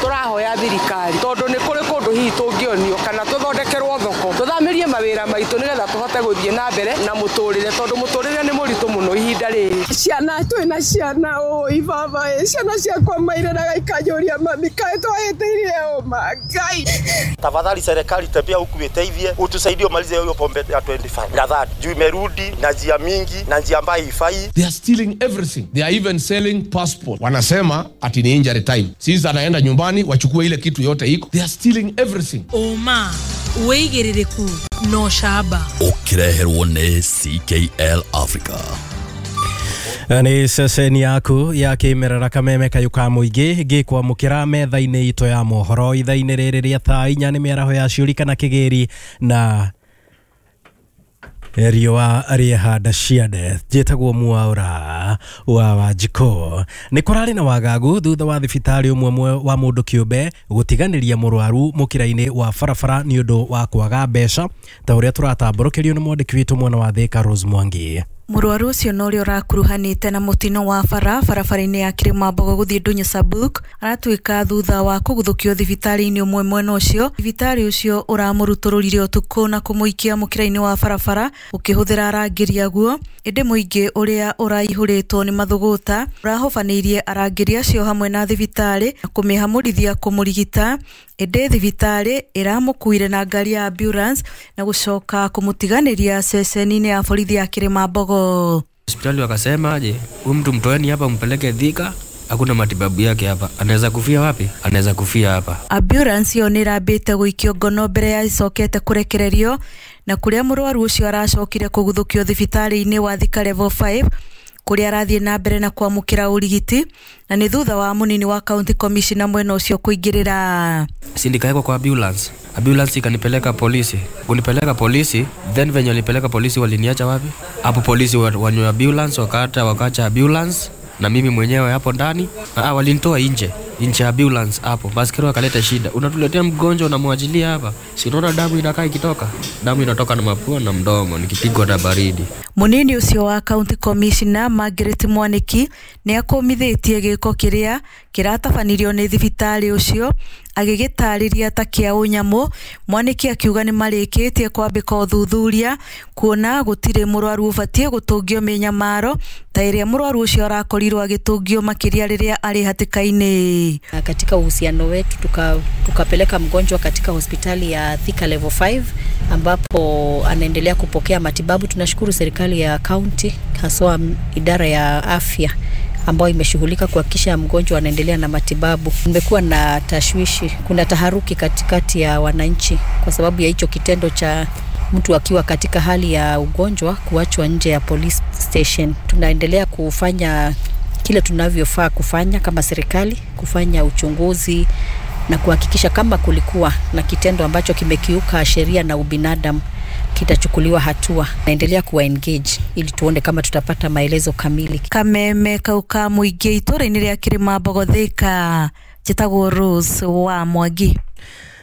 Speaker 9: Tũrahoya thirikari tondũ nĩ kũrĩ kũndũ hihi tũngĩonio kana tũthondekerwo thoko tũthamirie mawĩra maitũ nĩgetha tũhote gũthiĩ na mbere na mũtũrĩre tondũ mũtũrĩre nĩ mũritũ mũno ihinda rĩrĩ. Ciana twina ciana oi baba ciana ciakwa maireraga ikanjũria mami kaĩ twahĩtĩirie ũma Ngai.
Speaker 10: Tafadhali serikali tembea huku iteithie utusaidie umalize hiyo pombe ya twenty-five na that juu imerudi na njia mingi na njia ambayo haifai.
Speaker 11: They are stealing everything. They are even selling passport. Wanasema ati ni injury time. Sisi anaenda nyumbani wachukue ile kitu yote iko. They are stealing everything.
Speaker 8: Oma wĩigĩrĩrĩku no shaba
Speaker 6: ũkĩreherwo nĩ C K L Africa.
Speaker 12: Nĩ ceceni yaku ya kĩmerera kameme kayũ ka mũingĩ ngĩkwamũkĩra metha-inĩ itũ ya mohoro ithaa-inĩ rĩrĩ rĩa thaa inya nĩ mĩaraho ya ciũri kana kĩgĩri na riũa rĩehanda ciande. Njĩtagwo Mwaura wa Wanjikũ. Nĩ kũrarĩ na wagagu thutha wa thibitarĩ ũmwe wa mũndũ kĩũmbe gũtiganĩria mũrwaru mũkĩra-inĩ wa barabara nĩ ũndũ wa kwaga mbeca ta ũrĩa tũratambũrũkĩrio nĩ mwandĩki witũ mwena wa Thika Rose Mwangi.
Speaker 13: Mũrwaru ũcio na ũrĩa ũrakuruhanĩte na mũtino wa bara barabara-inĩ ya Kĩrĩmambogo gũthiĩ Ndũnyũ Sabuk aratuĩka thutha wa kũguthũkio thibitarĩ-inĩ ũmwe mwena ũcio. Thibitarĩ ũcio ũramũrutũrũrire ũtukũ na kũmũikia mũkĩra-inĩ wa barabara ũkĩhũthĩra arangĩri aguo, ĩndĩ mũingĩ ũrĩa ũraihũrĩtwo nĩ mathũgũta ũrahobanĩirie arangĩri acio hamwe na thibitarĩ na kũmĩhamũrithia kũmũrigita, ĩndĩ thibitarĩ ĩramũkuire na ngari ya ambulance na gũcoka kũmũtiganĩria ceceni-inĩ ya borithi ya Kĩrĩmambogo.
Speaker 14: Hospitali wakasema aje, huyu mtu mtoeni hapa mpeleke Thika, hakuna matibabu yake hapa. Anaweza kufia wapi? Anaweza kufia hapa.
Speaker 13: Ambulance yo nĩrambĩte gũikio ngono mbere ya icokete kũrekererio na kũrĩa mũrwaru ũcio aracokire kũguthũkio thibitarĩ-inĩ wa Thika level five kũrĩa arathiĩ na mbere na kwamũkĩra ũrigiti na nĩ thutha wa mũnini wa county commissioner mwena ũcio kũingĩrĩra.
Speaker 14: Si nikaekwa kwa ambulance. Ambulance ikanipeleka polisi. Kunipeleka polisi, then venye walipeleka polisi waliniacha wapi? Hapo polisi wanywa ambulance wakata wakacha ambulance na mimi mwenyewe hapo ndani. Ah, walinitoa nje. Nje ambulance hapo. Baskero akaleta shida. Unatuletea mgonjwa unamwachilia hapa. Si unaona damu inakaa ikitoka? Damu inatoka na mapua na mdomo nikipigwa na baridi.
Speaker 13: Munini ucio wa county commissioner Margaret Mwaniki nĩ akũmithĩtie gĩko kĩrĩa kĩratabanirio nĩ thibitarĩ ũcio agĩgĩtarĩria ta kĩa ũnyamũ. Mwaniki akiuga nĩ marĩkĩtie kwambĩka ũthuthuria kuona gũtirĩ mũrwaru ũbatiĩ gũtũngio mĩnyamaro ta ĩrĩa mũrwaru ũcio arakorirwo agĩtũngio makĩria rĩrĩa arĩ hatĩka-inĩ.
Speaker 15: Katika uhusiano wetu tuka, tukapeleka mgonjwa katika hospitali ya Thika level five ambapo anaendelea kupokea matibabu. Tunashukuru serikali ya county haswa idara ya afya ambayo imeshughulika kuhakikisha mgonjwa anaendelea na matibabu. Kumekuwa na tashwishi, kuna taharuki katikati ya wananchi kwa sababu ya hicho kitendo cha mtu akiwa katika hali ya ugonjwa kuachwa nje ya police station. Tunaendelea kufanya kile tunavyofaa kufanya kama serikali, kufanya uchunguzi na kuhakikisha kama kulikuwa na kitendo ambacho kimekiuka sheria na ubinadamu kitachukuliwa hatua. Naendelea kuwa engage ili tuone kama tutapata maelezo kamili.
Speaker 13: Kameme kauka mũingĩ itũra-inĩ rĩa Kĩrĩmambogo Thika, njĩtagwo Rose wa Mwangi.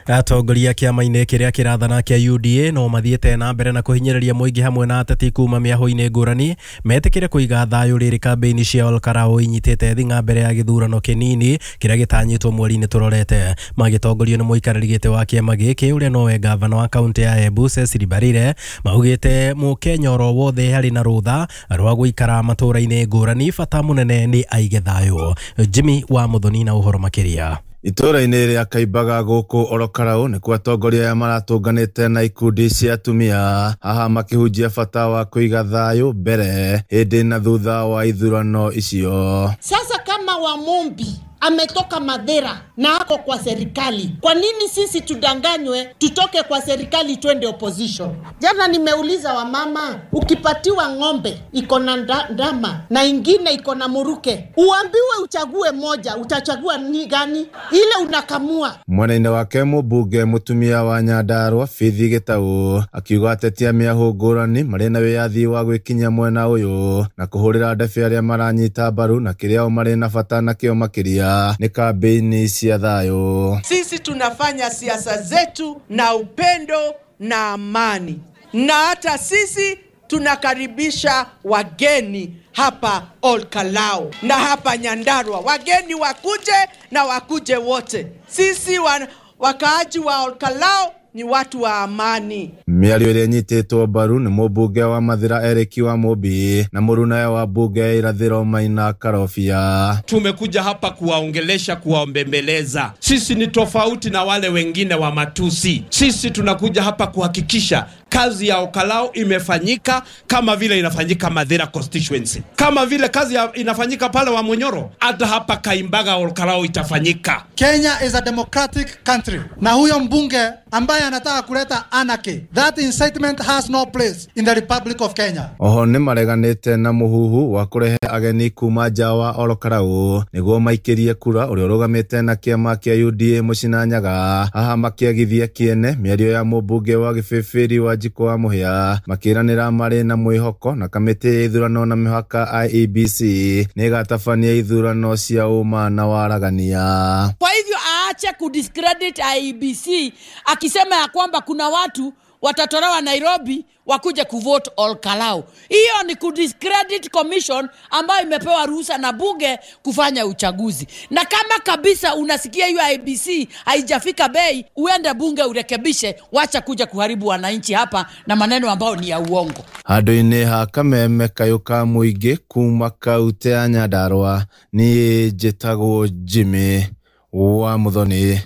Speaker 12: Atongoria kĩama-inĩ kĩrĩa kĩrathana kĩa U D A no mathiĩte na mbere na kũhinyĩrĩria mũingĩ hamwe na ateti kuma mĩahũ-inĩ ngũrani metĩkĩre kũiga thayũ rĩrĩ kambĩini cia Olkarau inyitĩte thing'a mbere ya gĩthurano kĩnini kĩrĩa gĩtanyĩtwo mweri-inĩ tũrorete. Magĩtongorio nĩ mũikarĩri gĩtĩ wa kĩama gĩkĩ ũrĩa nowe gavana wa kaũntĩ ya Embu Cecily Mbarire, maugĩte mũkenya oro wothe harĩ na rũtha rwa gũikara matũũra-inĩ ngũrani, bata mũnene nĩ aige thayũ. Jimmy wa Muthoni na ũhoro makĩria.
Speaker 16: Itũra-inĩ rĩa Kaimbaga gũkũ Orokarau nĩkuo atongoria aya maratũnganĩte na ikundi cia atumia haha makĩhunjia bata wa kũiga thayũ mbere hĩndĩ na thutha wa ithurano icio.
Speaker 17: Sasa kama Wamumbi ametoka Madera na ako kwa serikali, kwa nini sisi tudanganywe tutoke kwa serikali twende opposition? Jana nimeuliza wamama, ukipatiwa ng'ombe iko na ndama na ingine iko na muruke, uambiwe uchague moja, utachagua ni gani? Ile unakamua.
Speaker 16: Mwena-inĩ wake mũmbunge mũtumia wa Nyandarua Faith Gĩtaũ akiuga atetia mĩahũ ngũrani marĩ na wĩyathi wa gwĩkinyia mwena ũyũ na kũhũrĩra ndebe arĩa maranyita mbaru na kĩrĩa o marĩ na bata nakĩo makĩria ni kampeni cia thayũ.
Speaker 18: Sisi tunafanya siasa zetu na upendo na amani, na hata sisi tunakaribisha wageni hapa Olkalou na hapa Nyandarua. Wageni wakuje na wakuje wote. Sisi wa, wakaaji wa Olkalou ni watu wa amani.
Speaker 16: Mĩario ĩrĩa ĩnyitĩtwo mbaru nĩ mũmbunge wa Mathĩra Eric wa Mũmbi na mũrunawe wa mbunge ya Irathĩro Maina Karobia.
Speaker 19: Tumekuja hapa kuwaongelesha, kuwaombembeleza. Sisi ni tofauti na wale wengine wa matusi. Sisi tunakuja hapa kuhakikisha kazi ya Olkalou imefanyika kama vile inafanyika Mathira constituency, kama vile kazi ya inafanyika pale wa Munyoro, hata hapa Kaimbaga Olkalou itafanyika.
Speaker 20: Kenya is a democratic country, na huyo mbunge ambaye anataka kuleta anarchy, that incitement has no place in the Republic of Kenya.
Speaker 16: Oho nĩ mareganĩte na mũhuhu wa kũrehe ageni kuma nja wa Olkalou nĩguo maikĩrie kura ũrĩa ũrũgamĩte na kĩama kĩa U D A Mũcina Nyaga. Haha makĩagithia kĩene mĩario ya mũmbunge wa Gĩbĩbĩri wa Njikũ wa Mũhĩa, makĩranĩra marĩ na mwĩhoko na kamĩtĩ ya ithurano na mĩhaka I E B C nĩ ĩgatabania ithurano cia ũma na waragania.
Speaker 21: Kwa hivyo aache kudiscredit I E B C akisema ya kwamba kuna watu watatolewa Nairobi wakuje kuvote Olkalou. Hiyo ni kudiscredit commission ambayo imepewa ruhusa na bunge kufanya uchaguzi. Na kama kabisa unasikia hiyo I B C haijafika bei, uende bunge urekebishe, wacha kuja kuharibu wananchi hapa na maneno ambayo ni ya uongo.
Speaker 16: Handũ-inĩ ha Kameme kayũ ka mũingĩ kuma kaunti ya Nyandarua niĩ njĩtagwo Jimmy wa Muthoni.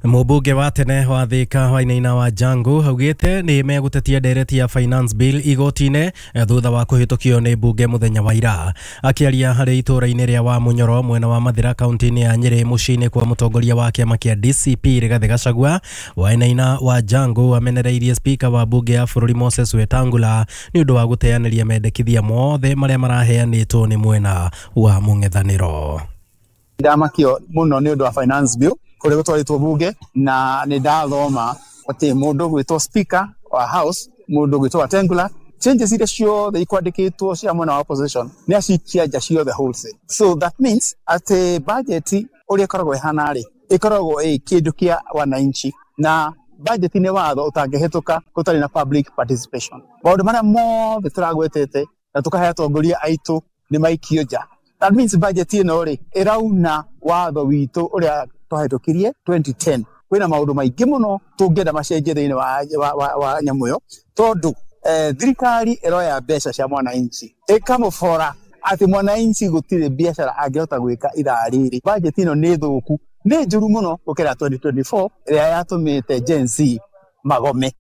Speaker 12: Mũmbunge wa tene wa Thika Wainaina wa Jangu augĩte nĩ megũtetia ndereti ya finance bill igoti-inĩ thutha wa kũhĩtũkio nĩ mbunge mũthenya wa ira. Akĩaria harĩ itũũra-inĩ rĩa wa Munyoro mwena wa Mathĩra kaunti-inĩ ya Nyĩrĩ mũciĩ-inĩ kwa mũtongoria wa kĩama kĩa D C P Rigathĩ Gachagua, Wainaina wa Jangu amenereirie speaker wa mbunge ya bũrũri Moses Wetangula nĩ ũndũ wa gũteanĩria mendekithia mothe marĩa maraheanĩtwo nĩ mwena wa mũng'ethanĩro.
Speaker 22: Ndamakio mũno nĩ ũndũ wa finance bill kũrĩa gũtwarĩtwo bunge, na nĩ ndathoma atĩ mũndũ gwĩtwo speaker wa house, mũndũ gwĩtwo Wetangula, changes iria ciothe ikwandĩkĩtwo cia mwena wa opposition nĩ acikia nja ciothe wholesale. So that means atĩ budget ũrĩa ĩkoragwo ĩhana rĩ, ĩkoragwo ĩ kĩndũ kĩa wananchi, na budget nĩ watho ũtangĩhĩtũka gũtarĩ na public participation. Maũndũ marĩa mothe tũragwetete na tũkahe atongoria aitũ nĩ maikio nja. That means budget ĩno rĩ ĩrauna watho witũ ũrĩa twahĩtũkirie twenty ten. Kwĩna maũndũ maingĩ mũno tũngĩenda macenjie thĩinĩ wa, wa, wa, wa nyamũ ĩyo, tondũ eh, thirikari ĩroya mbeca cia mwananchi ĩkamũbora atĩ mwananchi gũtirĩ biacara angĩhota gwĩka ithaa rĩrĩ. Budget ĩno nĩ thũku, nĩ njũru mũno gũkĩra twenty twenty-four ĩrĩa yatũmĩte Gen Z magome.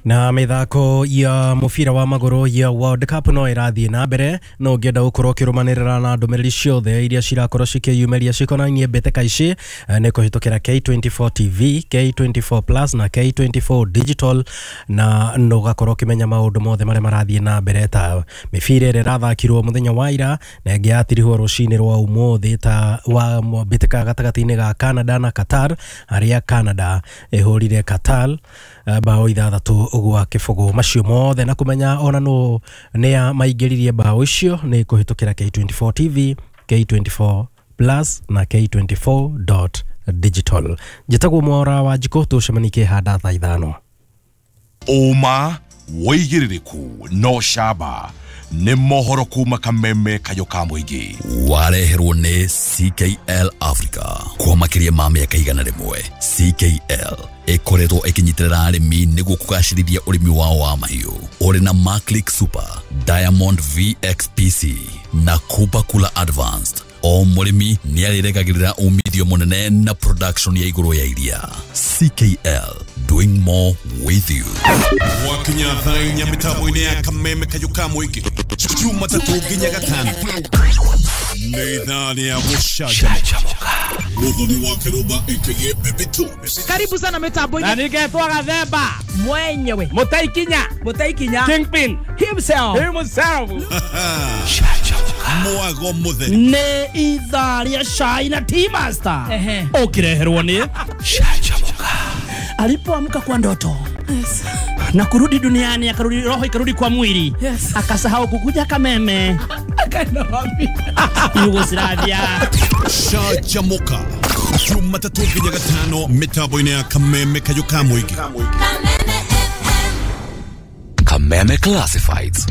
Speaker 12: Na mĩthako ya mũbira wa magũrũ ya World Cup no ĩrathiĩ na mbere, no ũngĩenda gũkorwo ũkĩrũmanĩrĩra na ndũmĩrĩri ciothe iria cirakorwo cikĩyumĩria cikonainie mbĩtĩka ici nĩ kũhĩtũkĩra K twenty-four T V, K twenty-four Plus na K twenty-four Digital, na no ũgakorwo ũkĩmenya maũndũ mothe marĩa marathiĩ na mbere ta mĩbira ĩrĩa ĩrathakirwo mũthenya wa ira na ĩngĩ yatirihwo rũcinĩ rwa ũmũthĩ ta wa mbĩtĩka gatagatĩ-inĩ ga Canada na Qatar, harĩa Canada ĩhũrire Qatar bao ithathatũ gwa kĩbũgũ. Macio mothe na kũmenya ona no nĩa maingĩririe bao icio nĩ kũhĩtũkĩra K twenty-four T V, K twenty-four Plus na K twenty-four dot digital. Njĩtagwo Mwora wa Njikũ, tũcemanie kĩhanda thaa ithano.
Speaker 4: Ũma wĩigĩrĩrĩku no camba nĩ mohoro kuma Kameme kayũ ka mũingĩ.
Speaker 6: Wareherwo nĩ C K L Africa kwa makĩria ma mĩaka igana rĩmwe. C K L ĩkoretwo ĩkĩnyitĩrĩra arĩmi nĩguo kũgacĩrithia ũrĩmi wao wa mahiũ. Ũrĩ na Maclick Super, Diamond V X P C na Kuba Kula Advanced. O mũrĩmi nĩ arĩregagĩrĩra umithio mũnene na production ya igũrũ ya iria. C K L, doing more with you.
Speaker 4: Wakinya thaa inya mĩtambo-inĩ ya Kameme kayũ ka mũingĩ Jumatatũ nginya Gatano nĩ ithaa rĩa gũcanjamũka. Muthoni wa Kĩrũmba aka Baby Two.
Speaker 23: Karibu sana mitambo-inĩ.
Speaker 24: Na ningetwo Gathemba
Speaker 23: mwenyewe,
Speaker 24: Mũtaikinya,
Speaker 23: Mũtaikinya
Speaker 24: Kingpin
Speaker 23: himself,
Speaker 24: himself.
Speaker 4: Mwago mũtheri
Speaker 24: nĩ ithaa rĩa cai na Tea Master ũkĩreherwo nĩ Canjamũka. Alipoamka kwa ndoto, yes, na kurudi duniani, akarudi roho ikarudi kwa mwili, yes, akasahau kukuja Kameme,
Speaker 23: akaenda wapi?
Speaker 24: Yugoslavia.
Speaker 4: Canjamũka Jumatatũ nginya Gatano mĩtambo-inĩ ya Kameme kayũ ka mũingĩ.
Speaker 6: Kameme Classifieds.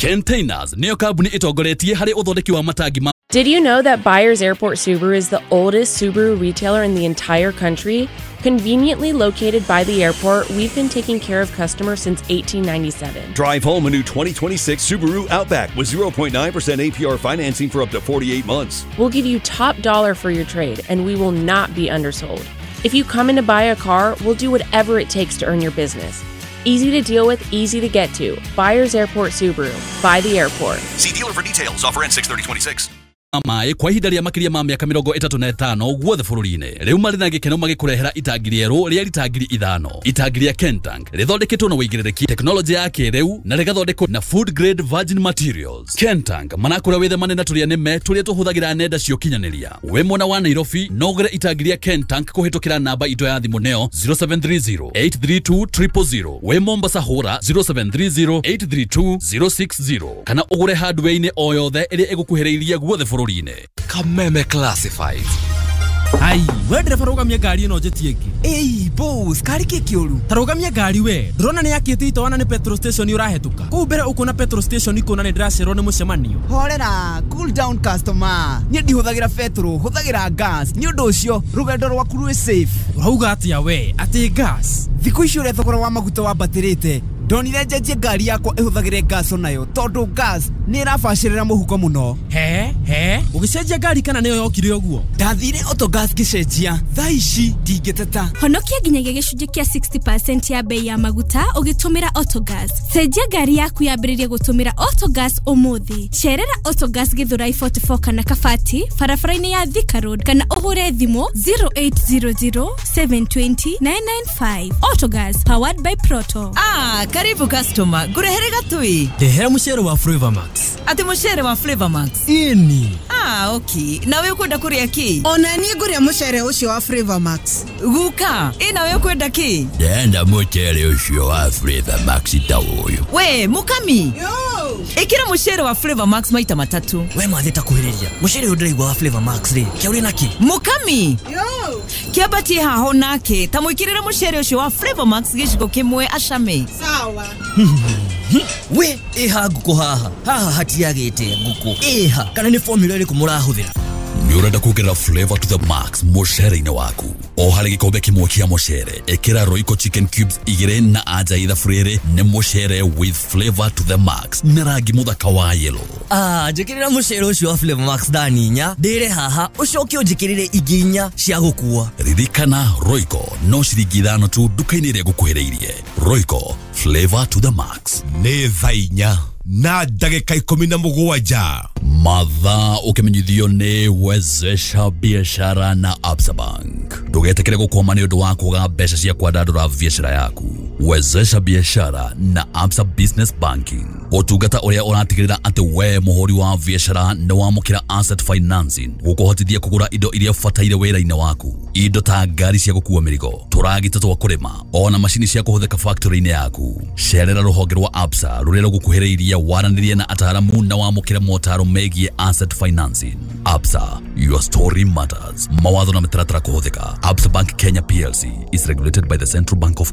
Speaker 6: Containers nĩyo kambuni ĩtongoretie harĩ ũthondeki wa matangi ma
Speaker 1: Did you know that Byers Airport Subaru is the oldest Subaru retailer in the entire country? Conveniently located by the airport, we've been taking care of customers since eighteen ninety-seven.
Speaker 2: Drive home a new twenty twenty-six Subaru Outback with zero point nine percent A P R financing for up to forty-eight months.
Speaker 1: We'll give you top dollar for your trade, and we will not be undersold. If you come in to buy a car, we'll do whatever it takes to earn your business. Easy to deal with, easy to get to. Byers Airport Subaru. By the airport.
Speaker 2: See dealer for details. Offer ends six thirty twenty-six.
Speaker 6: Maĩ kwa ihinda rĩa makĩria ma mĩaka mĩrongo ĩtatũ na ĩtano guothe bũrũri-inĩ rĩu marĩ na gĩkeno magĩkũrehera itangi rĩerũ rĩa rita ngiri ithano. Itangi rĩa Kentank rĩthondeketwo na wĩigĩrĩrĩki tekinoronjĩ ya kĩrĩu na rĩgathondekwo na food grade virgin materials. Kentank manakũra wĩthemane na tũrĩa nĩme tũrĩa tũhũthagĩra nenda cia ũkinyanĩria. Wĩ mwena wa Nairobi no ũgũre itangi rĩa Kentank kũhĩtũkĩra namba itũ ya thimũ neo zero seven three zero eight three two triple zero. Wĩ Mombasa hũra zero seven three zero eight three two zero six zero kana ũgũre hardware-inĩ o yothe ĩrĩa ĩgũkuhĩrĩirie guothe bũrũri-inĩ.
Speaker 3: Kameme Classifieds.
Speaker 5: Ai, we ndereba rũgamia ngari ĩno njĩtie ĩngĩ.
Speaker 25: Ĩi, boss, kari kĩ kĩũru?
Speaker 5: Ta rũgamia ngari we. Ndũrona nĩ yakĩte itoana nĩ petrol station ũrahetũka. Kũu mbere ũkuona petrol station ikuona nĩ ndĩracererwo nĩ mũcemanio.
Speaker 25: Horera, cool down customer. Niĩ ndihũthagĩra petrol, hũthagĩra gas. Nĩ ũndũ ũcio, rũgendo rwaku rwĩ safe.
Speaker 5: Ũrauga atĩa we? Atĩ gas?
Speaker 25: Thikũ ici ũrĩa thogora wa maguta wambatĩrĩte, ndonire njenjie ngari yakwa ĩhũthagĩre gas onayo tondũ gas nĩ ĩrabacĩrĩra mũhuko mũno.
Speaker 5: He he, ũgĩcenjia ngari kana nĩyo yokire ũguo?
Speaker 25: Ndathire Autogas ngĩcenjia, thaa ici ndingĩteta.
Speaker 26: Honokia nginyagia gĩcunjĩ kĩa sixty percent ya bei ya maguta ũgĩtũmĩra Autogas. Cenjia ngari yaku yambĩrĩrie gũtũmĩra Autogas ũmũthĩ. Cerera Autogas Githurai forty-four kana Kabati barabara-inĩ ya Thika Road kana ũhũre thimũ zero eight zero zero seven two zero nine nine five. Autogas powered by Proto.
Speaker 27: Ah, karibu customer, ngurehere gatui.
Speaker 5: Ndehera mucere wa Flavor Max.
Speaker 27: Ati mucere wa Flavor Max?
Speaker 5: Ini.
Speaker 27: Ah, okay. Nawe ukwenda kuria ki?
Speaker 28: Ona niĩ nguria mucere ucio wa Flavor Max.
Speaker 27: Guka, ĩ nawe ukwenda ki?
Speaker 6: Ndenda mucere ucio wa Flavor Max ta uyu.
Speaker 27: We, mukami.
Speaker 28: Yo.
Speaker 27: Ikira mucere wa Flavor Max maita matatu.
Speaker 29: We mwathi ta kuhiriria. Mucere uyu ndiraigua wa Flavor Max ri. Kia uri naki?
Speaker 27: Mukami.
Speaker 28: Yo.
Speaker 27: Kiambatie haho nake ta mwikirira mucere ucio wa Flavor Max giciko kimwe acame.
Speaker 28: Sawa.
Speaker 29: We, iha nguku haha. Haha hatiagite nguku. Iha, kana ni formula iriku murahuthira?
Speaker 6: Nĩ ũrenda kuongerera flavor to the max mũcere-inĩ waku. O harĩ gĩkombe kĩmwe kĩa mũcere, ĩkĩra Royco chicken cubes igĩrĩ na anja ithabu rĩrĩ nĩ mũcere with flavor to the max na rangi mũthaka wa yellow.
Speaker 29: Ah, njĩkĩrĩra mũcere ũcio wa Flavor Max thani inya, ndĩre haha, ũcoke ũnjĩkĩrĩre ingĩ inya cia gũkua.
Speaker 6: Ririkana Royco no ciringi ithano tu nduka-inĩ ĩrĩa ĩgũkuhĩrĩirie. Royco, flavor to the max.
Speaker 4: Nĩ thaa inya na ndagĩka ikũmi na mũgwanja.
Speaker 6: Mathaa ũkĩmenyithio nĩ Wezesha Biashara na Absa Bank. Ndũgetĩkĩre gũkwama nĩ ũndũ wa kwaga mbeca cia kwandandũra biashara yaku. Wezesha Biashara na Absa Business Banking, ũtungata ũrĩa ũratigĩrĩra atĩ we mũhũri wa biashara nĩ wamũkĩra asset financing gũkũhotithia kũgũra indo iria ũbataire wĩra-inĩ waku, indo ta ngari cia gũkua mĩrigo, tũragita twa kũrĩma, ona macini cia kũhũthĩka factory-inĩ yaku. Cerera rũhonge rwa Absa rũrĩa rũgũkuhĩrĩirie, waranĩrie na ataaramu na wamũkĩre motaro megiĩ asset financing. Absa, your story matters. Mawatho na mĩtaratara kũhũthĩka. Absa Bank Kenya P L C is regulated by the Central Bank of